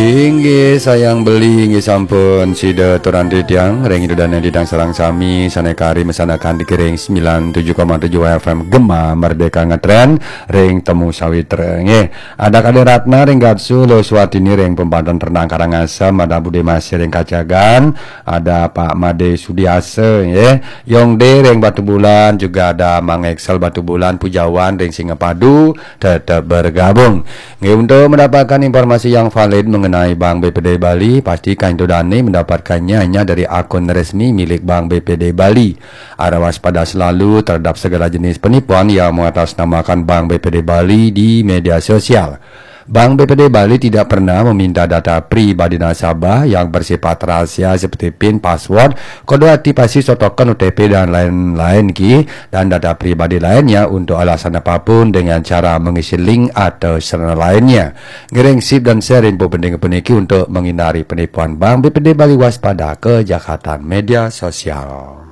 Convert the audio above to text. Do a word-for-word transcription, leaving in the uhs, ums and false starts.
Inggih sayang beli, inggih sampun sida turan titiang ring Ida Dane titiang sareng sami sane kari mesanakan di kiring sembilan tujuh koma tujuh F M Gema Merdeka Ngetren ring Temu Sawitra. Nggih, ada Kadek Ratna ring Gatsu, Lo Swatini ring Pembanten Renang Karangasem, ada Bude Masih ring Kacagan, ada Pak Made Sudiasa, nggih. Yongde ring Batubulan, juga ada Mang Excel Batubulan, Pujawan ring Singapadu, tetap bergabung. Nggih, untuk mendapatkan informasi yang valid mengenai Bank B P D Bali, pastikan Ida Dane mendapatkannya hanya dari akun resmi milik Bank B P D Bali. Harap waspada selalu terhadap segala jenis penipuan yang mengatasnamakan Bank B P D Bali di media sosial. Bank B P D Bali tidak pernah meminta data pribadi nasabah yang bersifat rahasia seperti pin, password, kode aktivasi, token, O T P, dan lain-lain ki, dan data pribadi lainnya untuk alasan apapun dengan cara mengisi link atau sarana lainnya. Ngiring sip dan share info penting puniki untuk menghindari penipuan. Bank B P D Bali, waspada kejahatan media sosial.